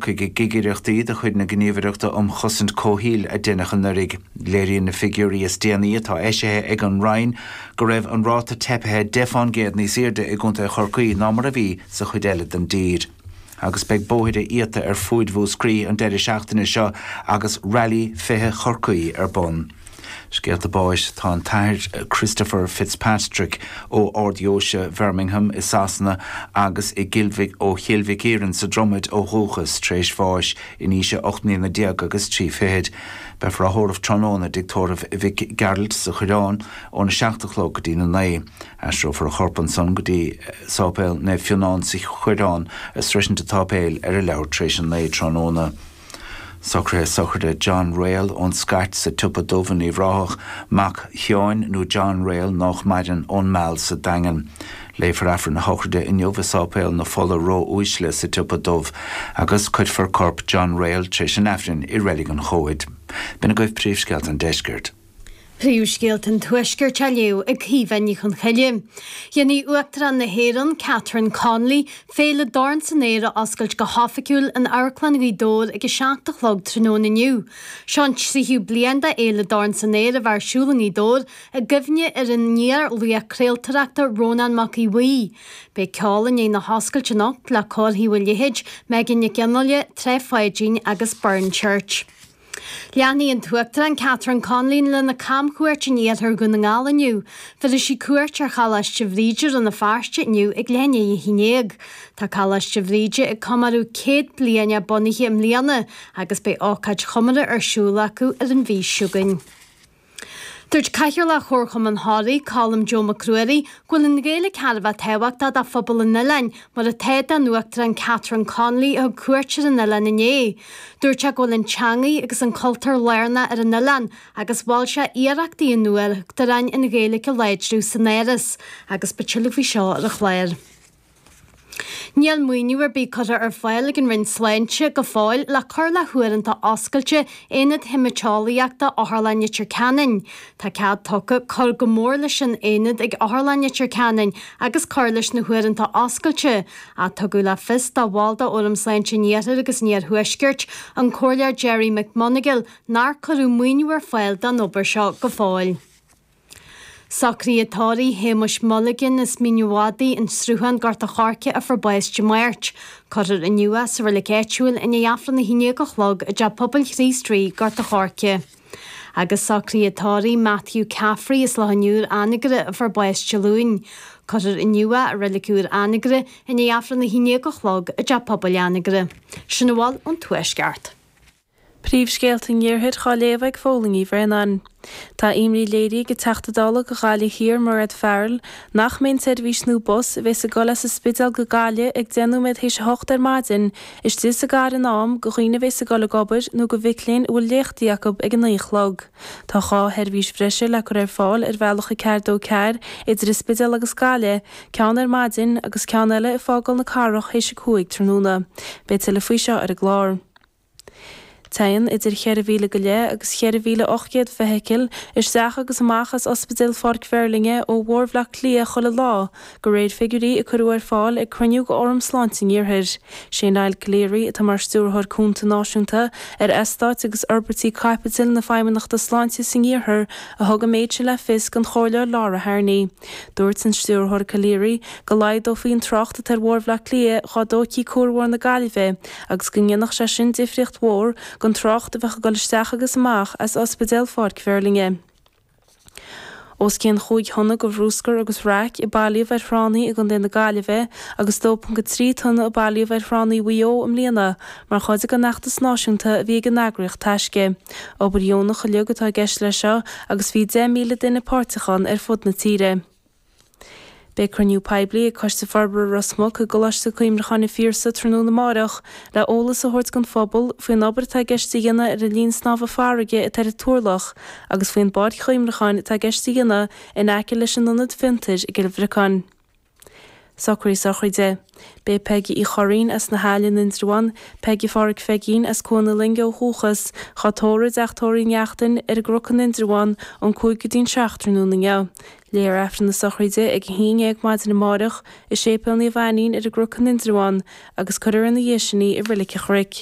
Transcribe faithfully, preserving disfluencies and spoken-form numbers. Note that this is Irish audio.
Chorcaigh i gcigireachtaí de chuid na Gníomhaireachta um Chosaint Comhshaoil a deineadh anuraidh. Léiríonn na figiúirí is déanaí atá eisithe ag an Roinn go raibh an ráta teipthe deich faoin gcéad níos airde i gContae Chorcaí ná mar a bhí sa chuid eile den dtír. Agus beidh bóithre iata ar fud Mhúscraí an deireadh seachtaine seo agus Rally fiche Chorcaí ar bun. Scéalta báis tá an tAthair Christopher Fitzpatrick ó Ard-Deoise Bhirmingham i Sasana agus i gCill ó Chill Mhic Iarainn sa Dromaid ó dhúchas tar éis bháis in aois a ocht mbliana déag agus trí fichid. Beifear á thórramh tráthnóna i dTigh Tórraimh Mhic Gearailt sa Choireán óna seacht a chlog go dtí na naoi. Aistreofar a chorp ansan go dtí Sáipéal Naomh Fionnán sa Choireán a sroisint an tsáipéil ar a leathuair tar éis a naoi tráthnóna. Socruithe sochraide John Rail ón Scait sa tSiopa Dubh in Uíbh Ráthach, mac Sheáin nó John Rail nách maireann ón Meal sa Daingean. Léifear Aifreann a shochraide inniu i Sáipéal na Fola Ró-Uaisle sa tSiopa Dubh agus cuirfear corp John Rail tar éis an Aifrinn i Reilig an Chomhaid. B'in agaibh príomhscéalta an deiscirt. Príomhscéalta an Tuaiscirt á léamh ag Caoimhe Ní Chonchoille. Déanfaidh Uachtarán na hÉireann, Catherine Connolly, Féile Dorn san Aer a oscailt go hoifigiúil in Amharclann Ghaoth Dobhair ag a seacht a chlog tráthnóna inniu. Seo an tríú bliain de Fhéile Dorn san Aer a bheith ar siúl i nGaoth Dobhair i gcuimhne ar an iar-laoch craoltóireachta Rónán Mac Aodha Bhuí. Beidh ceol i ndiaidh na hoscailte anocht le Cór Thaobh an Leithéid, Megan Nic Fhionnghaile, Trá Pháidín agus Burren Church. Leanfaidh an tUachtarán Catherine Connolly lena camchuairt in iarthar Dhún na nGall inniu. Tabharfaidh sí cuairt ar Choláiste Bhríde Rann na Feirste inniu ag leath i ndiaidh a haon déag. Tá Coláiste Bhríde ag comóradh céad bliain a bunaithe i mbliana agus beidh ócáid chomórtha ar siúl acu ar an mhí seo chugainn. Dúirt Cathaoirleach Chomharchumann Thoraí, Colm Joe Mac Ruairí, go bhfuil an Ghaeilge thar a bheith tábhachtach do phobal an oileáin, mar atá don Uachtarán Catherine Connolly a thug cuairt ar an oileán inné. Dúirt sé go bhfuil an teanga agus an cultúr lárnach ar an oileán agus mhol sé iarrachtaí an Uachtaráin an Ghaeilge a láidriú san Áras, agus beidh tuilleadh faoi seo ar an chlár. Níl maoiniú ar bith curtha ar fáil ag an Roinn Sláinte go fóill le cur le huaireanta oscailte Aonad Haemaiteolaíochta Otharlann Leitir Ceanainn. Tá cead tugtha cur go mór leis an aonad ag Otharlann Leitir Ceanainn agus cur leis na huaireanta oscailte, ach tugadh le fios do bhall de Fhóram Sláinte an Iarthair agus an Iarthuaiscirt, an Comhairleoir Gerry McMonagall, nár cuireadh maoiniú ar fáil don obair seo go fóill. Socruithe tórraimh Shéamuis Mulligan as Mín an Mhadaidh, an Sruthán, Gort a' Choirce a fuair bás Dé Máirt. Cuirfear inniu é sa reilig áitiúil i ndiaidh Aifreann a haon déag a chlog i dTeach Pobail Chríost Rí, Gort a' Choirce. Agus socruithe tórraimh Matthew Caffrey as Loch an Iúir, Anagaire a fuair bás Dé Luain. Cuirfear inniu é i reilig úr Anagaire i ndiaidh Aifreann a haon déag a chlog i dTeach Pobail Anagaire. Sin a bhfuil ón Tuaisceart. Príomhscéalta an Iarthair á léamh ag Fódhla Ní Bhraonáin. Tá imní léirithe ag an Teachta Dála do Ghaillimh Thiar, Mairéad Farrell, nach mbeidh an tseirbhís nua bus a bheas ag dul as an Spidéal go Gaillimh ag deich nóiméad théis a hocht ar maidin istigh sa gcathair in am do dhaoine a bheas ag dul ag obair nó do mhic léinn a bhfuil léachtaí acu ag a naoi a chlog. Tá dhá sheirbhís bhreise le cur ar fáil ar bhealach a ceathair dó ceathair idir an Spidéal agus Gaillimh, ceann ar maidin agus ceann eile ag fágáil na cathrach théis a cúig tráthnóna. Beidh tuilleadh faoi seo ar an gclár. Téann idir cheithre mhíle go leith agus cheithre mhíle ocht gcéad feithicil isteach agus amach as Ospidéal Pháirc Mheirlinne ó Bhóthar Bhaile Átha Cliath chuile lá, de réir figiúirí a cuireadh ar fáil ag cruinniú de Fhóram Sláinte an Iarthair. Sé Niall Calleary, atá mar Stiúrthóir Cúnta Náisiúnta ar Eastáit agus Fhorbairtí Caipitil na Feidhmeannachta Sláinte san Iarthar, a thug an méid sin le fios don Chomhairleoir Laura Harney. Dúirt an Stiúrthóir Calleary go laghdófaí an trácht atá ar Bhóthar Bhaile Átha Cliath dá dtógfaí Cuarbhóthar na Gaillimhe agus go ndéanfadh sé sin difríocht mhór don trácht a bheadh ag dul isteach agus amach as Ospidéal Pháirc Mheirlinne. Os cionn chúig thonna de bhruscar agus raic a bailíodh ar thránna i gContae na Gaillimhe agus dó ponc a trí tonna a bailíodh ar thránna Mhaigh Eo i mbliana mar chuid den fheachtas náisiúnta a bhí ag an eagraíocht Taisce. Obair dheonach uilig atá i gceist leis seo agus bhí deich míle duine páirteach ann ar fud na tíre. Beidh cruinniú poiblí ag Coiste Forbartha Ros Muc i gColáiste Cuimhneacháin an Phiarsaigh tráthnóna amárach le eolas a thabhairt don phobal faoin obair atá i gceist a dhéanamh ar an linn snámha farraige atá ar an Turlach agus faoin bpáirc chuimhneacháin atá i gceist a dhéanamh in aice leis an ionad fiontair i gCill Bhriocáin. Socruithe sochraide. B'é Peigí Uí Churraoin as na hAille in Indreabhán, Peigí Pháraic Pheigín as Cuan na Loinge ó dhúchas, dhá tórramh i dTeach Tórraimh Uí Neachtain ar an gCnoc in Indreabhán ón cúig go dtí an seacht tráthnóna inniu. Léifear Aifreann na sochraide ag a haon dhéag maidin amáireach i Séipéal Naomh Ainnín ar an gCnoc in Indreabhán agus cuirfear ina dhiaidh sin í i Reilig an Chnoic.